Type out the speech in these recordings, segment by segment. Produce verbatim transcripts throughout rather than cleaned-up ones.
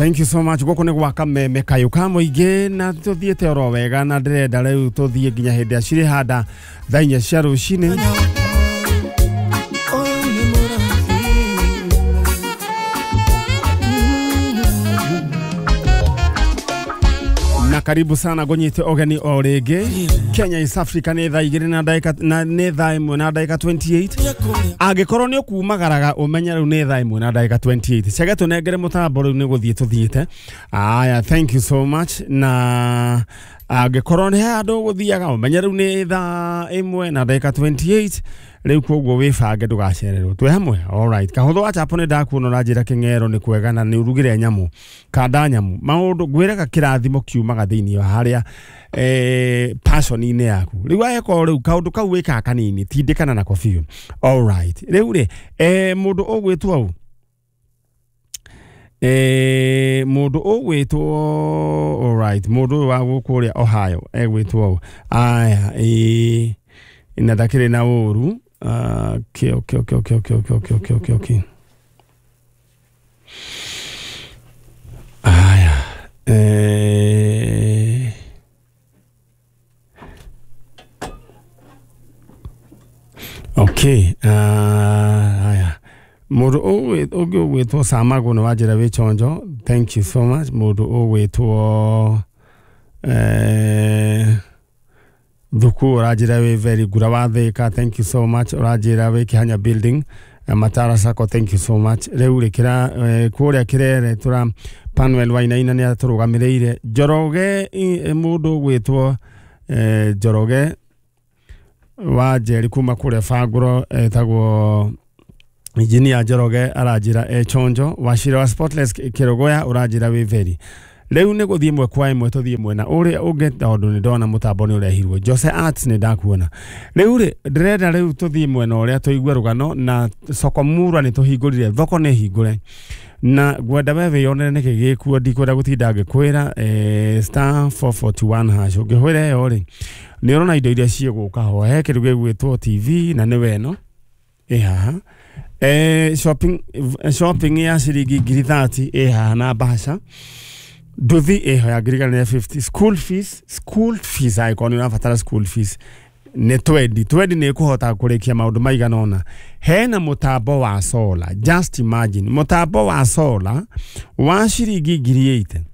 Thank you so much. Gũkũ nĩ gwaka meme kayũ ka mũingĩ na tũthiĩte oro wega na ndĩrenda rĩu tũthiĩ nginya hĩndĩ ya cirĩ handa thaa inya cia rũcinĩ. Na karibu sana gũnyite ũgeni o rĩngĩ. Kenya East Africa nĩ thaa igĩrĩ na ndagĩka na nĩ thaa ĩmwe na ndagĩka mĩrongo ĩrĩ na inyanya. Angĩkorwo nĩ ũkumagaraga ũmenye rĩu nĩ thaa ĩmwe na ndagĩka mĩrongo ĩrĩ na inyanya. Cege tũnengere mũtambo rĩu nĩ gũthiĩ tũthiĩte. Aya, thank you so much. Na angĩkorwo nĩ handũ ũgũthiaga ũmenye rĩu nĩ thaa ĩmwe na ndagĩka mĩrongo ĩrĩ na inyanya rĩu, koguo wĩbange ndũgacererwo. Twĩ hamwe. Alright, kahũthũ wa chapo nĩ ndakuona ũranjĩra kĩng'ero nĩ kwega na nĩ ũrugire nyamũ kanda nyamũ maũndũ ngwĩraga kĩrathimo kiumaga thĩinĩ wa harĩa eh, passion-inĩ yaku. Rĩu angĩkorwo rĩu kaũndũ kau wĩkaga kanini tindĩkana nako biũ. Alright, rĩu rĩ eh, mũndũ ũgwĩtwo ũ eh, mũndũ ũgwĩtwo, alright, mũndũ ũyũ wa gũkũ ũrĩa Ohio egwĩtwo ũ? Aya, ĩĩ, na ndakĩrĩ na ũru. Ah, okay, okay, okay, okay, okay, okay, okay, okay, okay, okay. Aya, eh, okay, uh, aya, mũndũ ũgwĩ- ũngĩ ũgwĩtwo Samago nĩ wanjĩra wĩ chonjo, thank you so much. Mũndũ ũgwĩtwo eh, Thuku ũranjĩra wĩ very ngura wa Thĩka, thank you so much. Ũranjĩra wĩ Kĩhanya building, eh, Matara Sacco, thank you so much. Rĩu rĩ kĩra eh, kũrĩa Kĩrere tũra Panuel Wainaina nĩ atũrũgamĩrĩire. Njoroge, i- mũndũ ũgwĩtwo eh, Njoroge wa Njeri kuma kũrĩa Bangũro etagwo Engineer Njoroge aranjĩra e chonjo. Wacira wa Spotless Kĩrogoya ũranjĩra wĩ very. Rĩu nĩ gũthiĩ ĩmwe kwa ĩmwe tũthiĩ mwena ũrĩa ũngĩ tondũ nĩ ndona mũtambo nĩ ũrehirwo. Jose Arts nĩ ndakuona. Rĩu rĩ ndĩrenda rĩu tũthiĩ mwena ũrĩa tũigue rũgano na soko murwa nĩ tũhingũrire thoko nĩ hingũre na ngwenda we wĩyonere nĩkĩ gĩkuo. Ndikwenda gũtinda ngĩkwĩra eh, star four four one hash ũngĩhũra ĩyo rĩ nĩ ũrona indo iria ciĩgũka ho. He kĩndũ gĩgwĩtwo T V na nĩ weno ĩ haha, eh, shopping, shopping ya ciringi ngiri mĩrongo ĩtatũ ĩ haha na bahasha nduthi ĩho ya ngiri igana rĩa mĩrongo ĩtano. School fees, school fees, angĩkorwo nĩ ũrabatara school fees nĩ twendi twendi nĩ ĩkũhota kũrĩkia maũndũ maigana ũna. Hena mũtambo wa solar, just imagine, mũtambo wa solar wa ciringi ngiri mĩrongo ĩnane.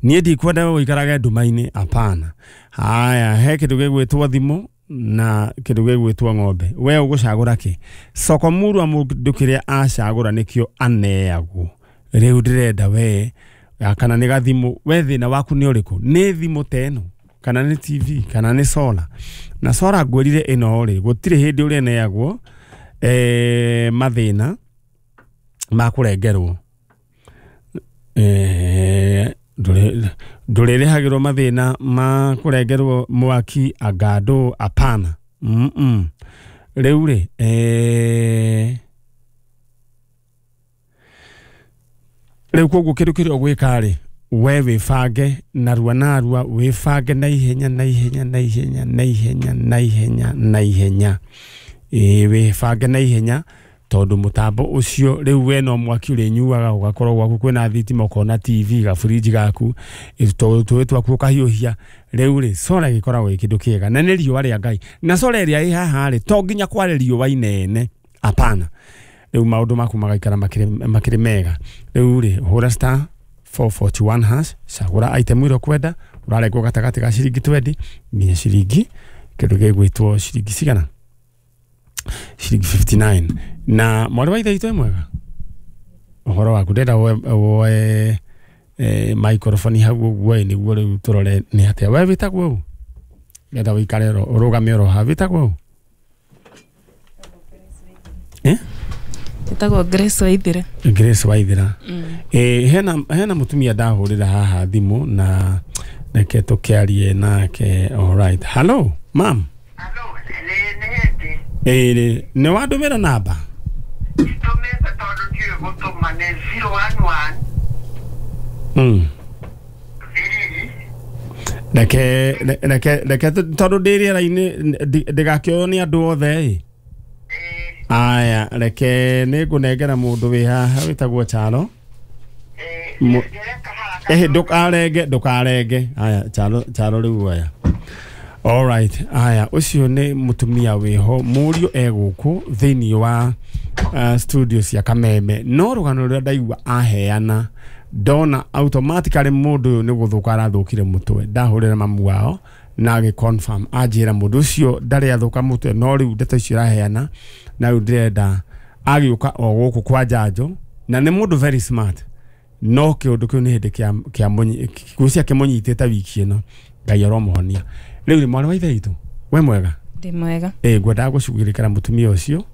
Niĩ ndikwenda ũikarage nduma-inĩ, hapana. Haya, he kĩndũ gĩgwĩtwo thimũ na kĩndũ gĩgwĩtwo ng'ombe. We ũgũcagũra kĩ? Soko murwa mũndũ kĩrĩa acagũra nĩkĩo aneagwo. Rĩu ndĩrenda we kana nĩ gathimũ, we thĩna waku nĩ ũrĩkũ? Nĩ thimũ ta ĩno kana nĩ T V kana nĩ solar? Na solar ngwĩrire ĩno rĩ gũtirĩ hĩndĩ ũrĩneagwo eh, mathĩna ma kũrengerwo, eh, ndũrĩ- ndũrĩrĩhagĩrwo mathĩna ma kũrengerwo mwaki angandũ, apana. mm -mm. Rĩu rĩ eh, rĩu koguo kĩndũ kĩrĩa ũgwĩka rĩ we wĩbange narua narua, wĩbange na ihenya na ihenya na ihenya na ihenya na ihenya na ihenya. Ĩĩ, wĩbange na ihenya tondũ mũtambo ũcio rĩu we no mwaki ũrĩnyuaga ũgakorwo gwaku kwĩna thitima, ũkona T V, gaburinji gaku, tũĩ twaku ũkahiũhia. Rĩu rĩ solar gĩkoragwo gĩ kĩndũ kĩega na nĩ riũa rĩa Ngai na solar ĩrĩa ĩ haha rĩ to nginya kware riũa inene, apana. Rĩu maũndũ maku magaikara makĩrĩ makĩrĩ mega. Rĩu rĩ hũra star four four one hash, cagũra item ĩrĩa ũkwenda. Ũrarengwo gatagatĩ ga ciringi mĩrongo ĩrĩ nginya ciringi kĩndũ gĩgwĩtwo ciringi cigana, ciringi mĩrongo ĩtano na inyanya. Na mwarĩ wa ithe witũ, mwega ũhoro waku? Ndenda woe woe eh, microphone hau ũguo ĩ nĩguo rĩu tũrore nĩ atĩa. We wĩtagwo ũ? Ndenda ũikare oro ũrũgame oro haha. Wĩtagwo ũ? Eh? Ĩtagwo Grace Waithira. Grace Waithira. Eh, hena hena mũtumia ndahũrĩra haha thimũ na reke tũkĩarie nake. Alright, hello mam. Halo, nĩ nĩ hĩndĩ. Ĩĩ, nĩ wandũmĩra namba? Nditũmĩte tondũ ndiũĩ gũtũma. Nĩ zero one one mm. three. Reke reke reke tondũ ndĩ rĩera-inĩ ndi- ndĩgakĩoywo nĩ andũ othe ĩ. Ĩĩ. Aya, reke nĩ ngũnengera mũndũ wĩ haha wĩtagwo Charo. Ĩĩ. Eh ndukarenge ndukarenge aya charo charo riu aya. All right aya ucio ni mutumia wiho murio eguku thiini wa uh, studio cia Kameme no rugano ruria ndaigua aheana ndona automatically mundu uyu ni guthuka arathukire mutwe ndahurira mamu wao na agi confirm anjira mundu ucio ndari athuka mutwe no riu ndeto icio raheana na riu ndirenda agiuka o guku kwa njanjo na ni mundu very smart no kiundu kiu ni hindi kia kia kucia kimunyitite wiki ino Ngai aromuhonia. Riu ri mwana wa ithe itu we mwega ndi mwega eh ngwendaga gucugirikara mutumia ucio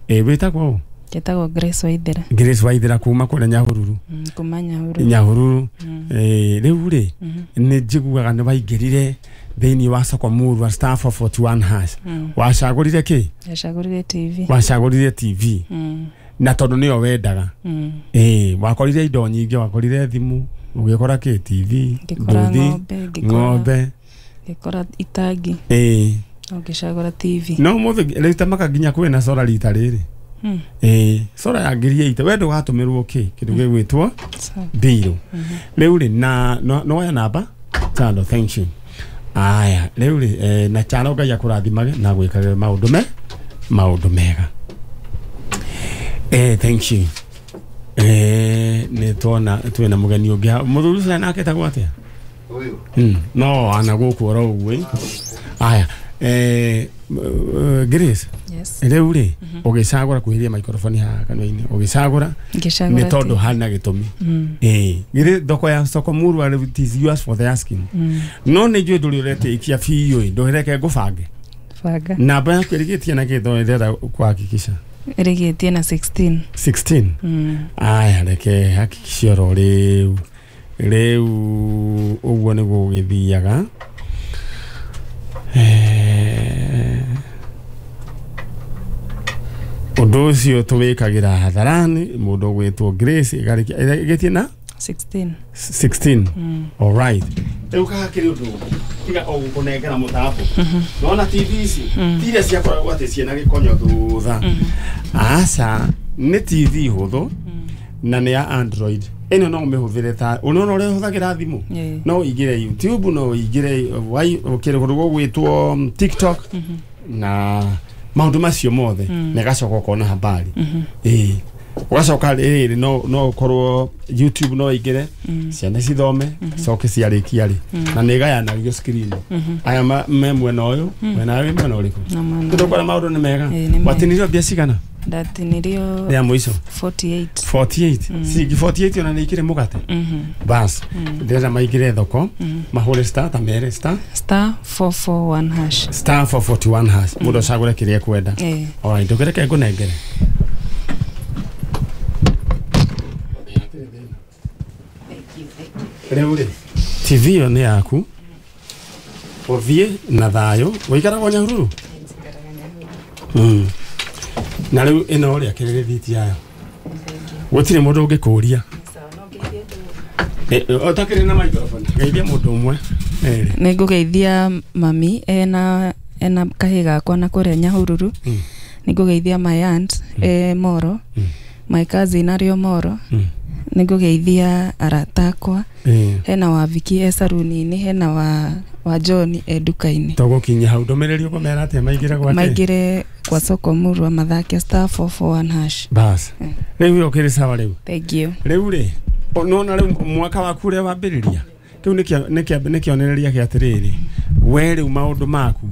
eh witagwo Njĩtagwo Grace Waithera. Grace Waithera kuma kũrĩa Nyahururu. Mm, kuma Nyahururu. Nyahururu. Eh rĩu rĩ nĩ njiguaga nĩ waingĩrire thĩinĩ wa soko murwa star four forty-one hash. Wacagũrire kĩ? Ndacagũrire T V. Wacagũrire T V. Mm. Na tondũ nĩyo wendaga. Mm. Eh wakorire indo nyingĩ, wakorire thimũ, ũgĩkora kĩ T V, nduthi, ng'ombe, ngĩkora itangi. Eh ngĩcagũra T V. No mũthĩ rĩu tamaka nginya kwĩna sora rita rĩrĩ. Mm. Eh sora ya ngiri ite we ndũgatũmĩrwo kĩ kĩndũ gĩgwĩtwo mbirũ. Rĩu rĩ na no ya namba tano thank you. Aya rĩu rĩ eh, na chano Ngai akũrathimage na gwĩkage maũndũ me maũndũ mega. Eh thank you. Eh nĩ tuona twĩna mũgeni ũngĩ mũthuri ũcio nake etagwo atĩa? Ũyũ. Mm no ana gũkũ oro ũguo. Aya eh Grace. Yes. Rĩu rĩ ũgĩcagũra kwĩhĩria microphone haha kanua-inĩ ũgĩcagũra ngĩcagũra nĩ tondũ hana gĩtũmi. Eh githĩ thoko ya soko murwa it is yours for the asking. No nĩ njũĩ ndũrĩ ũretĩkia biũ ndũreke ngũbange. Banga. Namba yaku ĩrigĩtie na kĩ ndĩrenda kuhakikisha? Ĩrigĩtie na sixteen. sixteen. Mm. Aya reke hakikisha oro rĩu rĩu ũguo nĩguo gũgĩthiaga. Eh ũndũ ũcio tũwĩkagĩra hadharani mũndũ ũgwĩtwo Grace ĩgĩtie na sixteen. sixteen. Mm. All right. Rĩu kahakĩrĩ ũndũ tiga o gũkũnengera mũtambo. Nona T V ici ti iria ciakoragwo atĩ ciĩna gĩkonyo thutha. Aca nĩ T V hũthũ na nĩ ya Android. Ĩno no ũmĩhũthĩre ta ũnona ũrĩa ũhũthagĩra thimũ. No ũingĩre YouTube, no ũingĩre kĩndũ gũgwĩtwo TikTok na maũndũ macio mothe na gacoka ũkona habari. Ĩĩ ũgacoka rĩrĩ no no ũkorwo YouTube no ĩingĩre ciana cithome coke ciarĩkia rĩ na nĩ ĩgayanagio screen. Aya me mwena ũyũ mwena wĩ mwena ũrĩkũ? Tũkora maũndũ nĩ mega. Watinirio mbia cigana? Ndatinirio ya mũico forty-eight. forty-eight. Ciringi forty-eight ona nĩ ikĩrĩ mũgate. Bas ndĩrenda maingĩre thoko mahũre star ta mere star star four four one hash. Star four forty-one hash. Mũndũ acagũre kĩrĩa ekwenda. Alright ndũkĩreke ngũnengere. Rĩu rĩ T V ĩyo nĩ yaku ũthiĩ na thayũ. Ũikaragwo Nyahururu? Mm. Na rĩu ĩno rĩ akĩrĩ rĩthiti yayo gũtirĩ mũndũ ũngĩkũria. Ũtakĩrĩ na microphone geithia mũndũ ũmwe. Nĩ ngũgeithia mami ena ena kahĩ gakwa na kũrĩa Nyahururu. Nĩ ngũgeithia my aunt e Moro, my cousin arĩ o Moro. Nĩ ngũgeithia arata akwa. Hena wa Viki e saruni-inĩ, hena wa wa John e nduka-inĩ. Tũgũkinyia hau ndũmĩrĩri ũkũmera atĩa maingĩre gwake? Maingĩre kwa soko murwa mathake star four four one hash. Bas rĩu ũkĩrĩ sawa rĩu. Thank you. Rĩu rĩ nona rĩu mwaka waku ũrĩa wambĩrĩria kĩu nĩ kĩonereria kĩa atĩrĩrĩ we rĩu maũndũ maku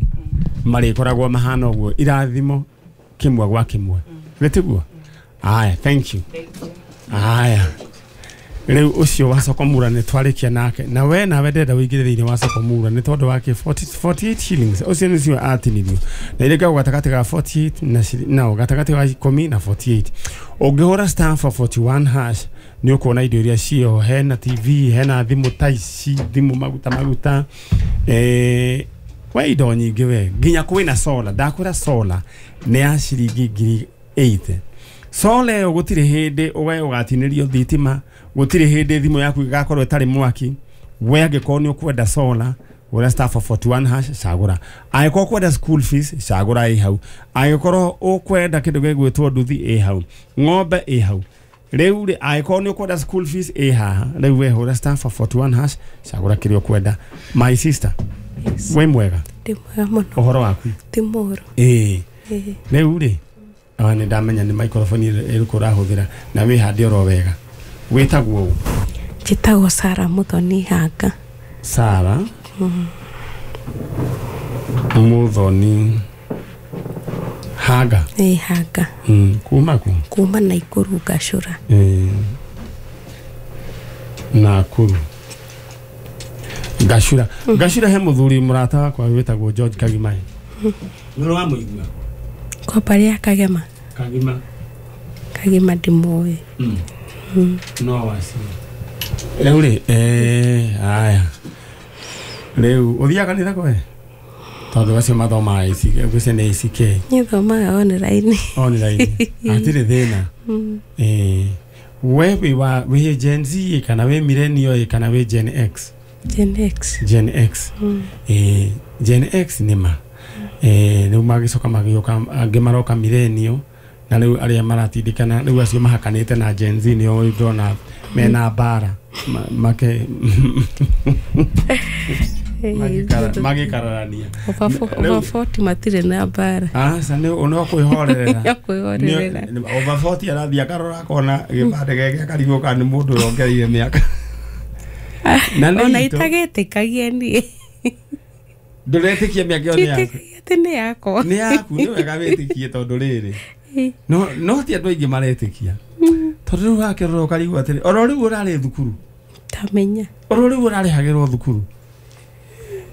marĩkoragwo mahana ũguo irathimo kĩmwe gwa kĩmwe gĩtiguo. Aya thank you. Aya rĩu ũcio wa soko mura nĩ twarĩkia nake na we nawe ndĩrenda ũingĩre thĩinĩ wa soko mura nĩ tondũ wake forty-eight shillings ũcio nĩcio atinirio na irĩngagwo gatagatĩ ga forty-eight na no gatagatĩ ga ikũmi na forty-eight. Ũngĩhũra star four forty-one hash nĩ ũkuona indo iria ciĩho. Hena T V, hena thimũ ta ici, thimũ maguta maguta eh we indo nyingĩ we nginya kwĩna solar. Ndakwĩra solar nĩ ya ciringi ngiri eighty. Solar ĩyo gũtirĩ hĩndĩ we ũgatinĩrio thitima, gũtirĩ hĩndĩ thimũ yaku ĩgakorwo ĩtarĩ mwaki. We angĩkorwo nĩ ũkwenda solar hũra star four forty-one hash cagũra. Angĩkorwo ũkwenda school fees cagũra ĩ hau. Angĩkorwo ũkwenda kĩndũ gĩgwĩtwo nduthi ĩ hau, ng'ombe ĩ hau. Rĩu rĩ angĩkorwo nĩ ũkwenda school fees ĩ haha rĩu we hũra star four forty-one hash cagũra kĩrĩa ũkwenda. My sister, Yes. wĩ mwega? Ndĩ mwega mũno. Ũhoro waku? Ti mũru. Ĩĩ. Ĩĩ. Rĩu rĩ awa nĩ ndamenya nĩ microphone ĩrĩkũ ũrahũthĩra na wĩhande oro wega. Wĩtagwo ũ? Njĩtagwo Sarah Muthoni Hanga. Sarah Muthoni Hanga. Ĩĩ, Hanga. Mm, kuma ku? Kuma Nakuru Gacũra. Ĩĩ. Nakuru Gacũra. Gacũra he mũthuri mũrata wakwa wĩtagwo George Kagima. Nĩ ũrĩ wamũigua? Kwa mbarĩ ya Kagema. Kagima. Kagima ndimũĩ. Mm. No wacio. Rĩu rĩ eh aya. Rĩu ũthiaga kanitha kwe? Tondũ acio mathomaga A C K, gwĩcia nĩ A C K. Niĩ thomaga online. Online. Hatirĩ thĩna. Eh we wĩ wa wĩ Gen Z kana wĩ millennial kana wĩ Gen X? Gen X. Gen X. Eh Gen X nĩ ma. Eh rĩu magĩcoka magĩũka angĩ maroka millennial na rĩu arĩa maratindĩkana rĩu acio mahakanĩte na Gen Z nĩo ndona mena mbara make magĩkararania. Over forty matirĩ na mbara. Aca nĩ no kwĩhorerera. Kwĩhorerera. Over forty arathiĩ akarora akona gĩbandĩ gĩake akarigwo kana nĩ mũndũ ũrongereire mĩaka. Na nĩ ona itũ. itagĩtĩkagia niĩ. Ndũretĩkia mĩaka ĩyo nĩ yaku? Nditĩkagia atĩ nĩ yakwa. Nĩ yaku, nĩ wega wĩtĩkie tondũ rĩrĩ. No no ti andũ aingĩ maretĩkia. Tondũ rĩu wakĩrora ũkarigwo atĩrĩ, oro rĩu ũrarĩ thukuru. Tamenya. Oro rĩu ũrarĩhagĩrwo thukuru.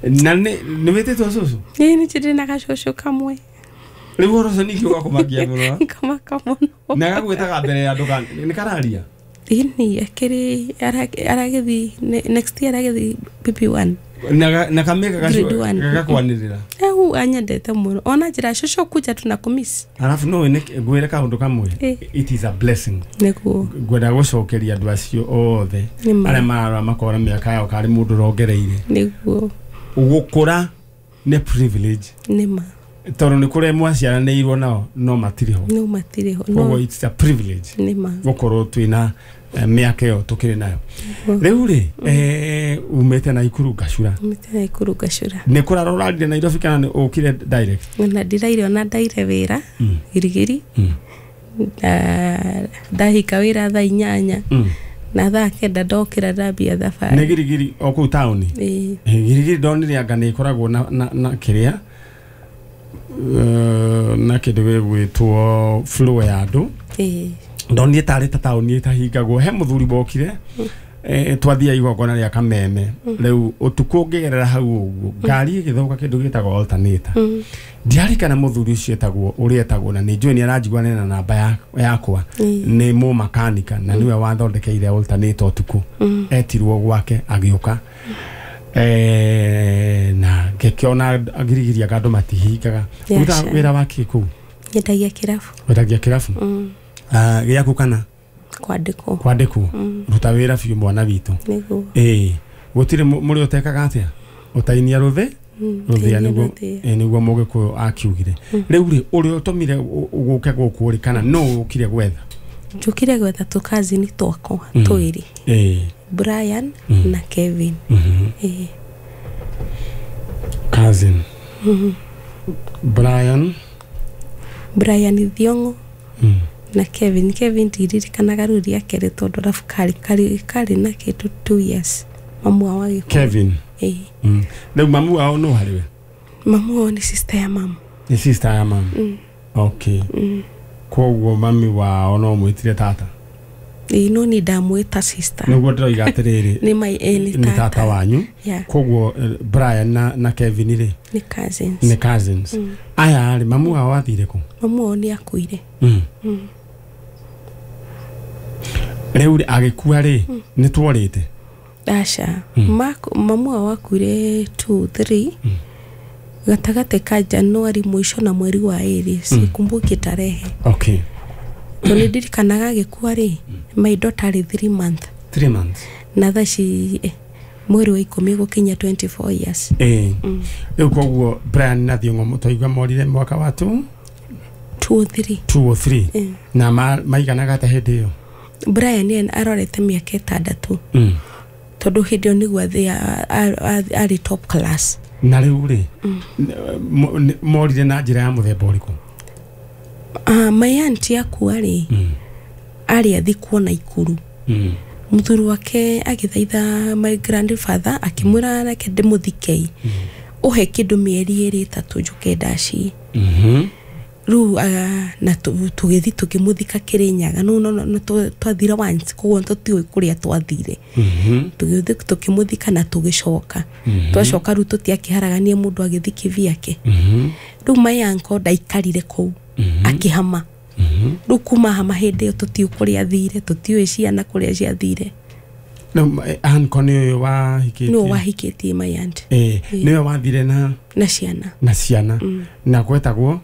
Na nĩ nĩ wĩtĩtwo cũcũ? Ĩĩ, nĩ njĩrĩ na gacũcũ kamwe. Rĩu ũhoro ũcio ningĩ ũgakũmakia mũno. Ngamaka mũno. Na gagwĩtaga mbere ya andũ kana nĩ kararia? Ĩni, akĩrĩ aragĩthiĩ next year aragĩthiĩ P P one. Na na kamĩka Grade one. gakwanĩrĩra. Au anyendete mũno. Ona njĩra cũcũ kuja tunakumiss. Arabu no nĩ ngwĩre kaũndũ kamwe. Ĩ. It is a blessing. Nĩguo. Ngwenda gũcokeria andũ acio othe Nĩma. arĩa mararora makora mĩaka yao karĩ mũndũ ũrongereire. Nĩguo. Gũkũra nĩ privilege. Nĩma. Tondũ nĩ kũrĩa mwaciaranĩirwo nao no matirĩ ho. No matirĩ ho. Koguo it's a privilege. Nĩma. Gũkorwo twĩna mĩaka ĩyo tũkĩrĩ nayo. Rĩu rĩ eh umĩte Nakuru Gacũra. Umĩte Nakuru Gacũra. Nĩ kũrara ũrarire Nairobi kana nĩ ũkire direct? Na ndiraire ona ndaire wĩra Girigiri. Na ndahika wĩra thaa inyanya. Na thaa kenda ndokĩra ndambia thabarĩ. Nĩ Girigiri o kũu taũni? Ĩĩ. Girigiri ndonire anga nĩ ĩkoragwo na na na kĩrĩa na kĩndũ gĩgwĩtwo flow ya andũ. Ĩĩ. Ndonire tarĩ ta taũni ĩtahingagwo. He mũthuri wokire eh twathia igongona rĩa Kameme. Rĩu ũtukũ ngĩgerera hau ũguo ngari ĩgĩthũka kĩndũ gĩtagwo alternator. Ndiarikana mũthuri ũcio etagwo ũrĩa etagwo na nĩ njũĩ nĩ aranjigua na namba yakwa. Nĩ mũmakanika na nĩwe wathondekeire alternator ũtukũ. Etirwo gwake agĩũka. Eh na ngĩkĩona Girigiri anga andũ matihingaga. Ruta wĩra wake kũu? Nyendagia kĩrabu. Wendagia kĩrabu? Ah gĩaku kana? Kwandĩkwo. Kwandĩkwo. Ruta wĩra biũ mwana witũ. Nĩguo. Ĩĩ. Gũtirĩ mũrĩ ũtekaga atĩa? Ũtainia rũthĩ? Rũthĩa nĩguo nĩguo Mũgĩkũyũ akiugire. Rĩu rĩ ũrĩa ũtũmire ũgũke gũkũ rĩ kana nũ ũkire gwetha? Njũkire gwetha tũkazini twakwa twĩrĩ. Ĩĩ. Brian na Kevin. Ĩĩ. Cousin. Brian. Brian Thiong'o. Na Kevin. Kevin ndiririkanaga rĩu rĩake rĩ tondũ arabu karĩ karĩ karĩ na kĩndũ two years. Mamu wao agĩkua. Kevin. Ĩĩ. Rĩu mamu wao nũ harĩ we? Mamu wao nĩ sister ya mamu. Nĩ sister ya mamu. Okay. Koguo mami wao no mwĩtire tata? Ĩĩ, no niĩ ndamwĩta sister. Nĩguo ndĩroiga atĩrĩrĩ. Nĩ my ĩĩ, nĩ tata wanyu. Koguo Brian na na Kevin rĩ? Nĩ cousins. Nĩ cousins. Aya rĩ mamu wao athire kũ? Mamu wao nĩ akuire. Rĩu rĩ agĩkua rĩ nĩ tworĩte? Aca. Mamu wao akuire two three gatagatĩ ka Januari mũico na mweri wa ĩrĩ, sikumbuki tarehe. Okay. Tondũ nĩ ndirikanaga agĩkua rĩ my daughter arĩ three month. Three months. Na thaa ici mweri wa ikũmi gũkinya twenty-four years. Ĩĩ. Rĩu koguo Brian na Thiong'o mũtwaigua morire mwaka wa two? two oh three. two oh three. Na maiganaga atĩa hĩndĩ ĩyo? Brian ena arorete mĩaka ĩtandatũ Mm. tondũ hĩndĩ ĩyo nĩguo athĩ- a- a- a- arĩ top class. Na rĩu rĩ, mo- nĩ- morire na njĩra ya mũthemba ũrĩkũ? Uh, my auntie akua rĩ, Mm. arĩ athikwo Naikuru. Mm. Mũthuri wake agĩthaitha my grandfather, akĩmwĩra, "Reke ndĩmũthikei, ũhe kĩndũ mĩeri ĩrĩ ĩtatũ njũke ndaci." Mhm. Rĩu uh, na tũ- tũgĩthiĩ tũkĩmũthika Kĩrĩnyaga. No no no twathire once, koguo tũtiũĩ kũrĩa twathire. Mhm. Tũgĩthiĩ tũkĩmũthika na tũgĩcoka. Twacoka rĩu tũtiakĩharagania mũndũ agĩthiĩ kĩvyake. Mhm. Rĩu my uncle ndaikarire kũu, akĩhama. Rĩu kuma hama hĩndĩ ĩyo tũtiũĩ kũrĩa athire, tũtiũĩ ciana kũrĩa ciathire. Rĩu eh, uncle nĩ ũyũ wahikĩtie? Nĩwe wahikĩtie my aunt. Eh, nĩwe wathire na Na ciana. Na ciana na gwetagwo?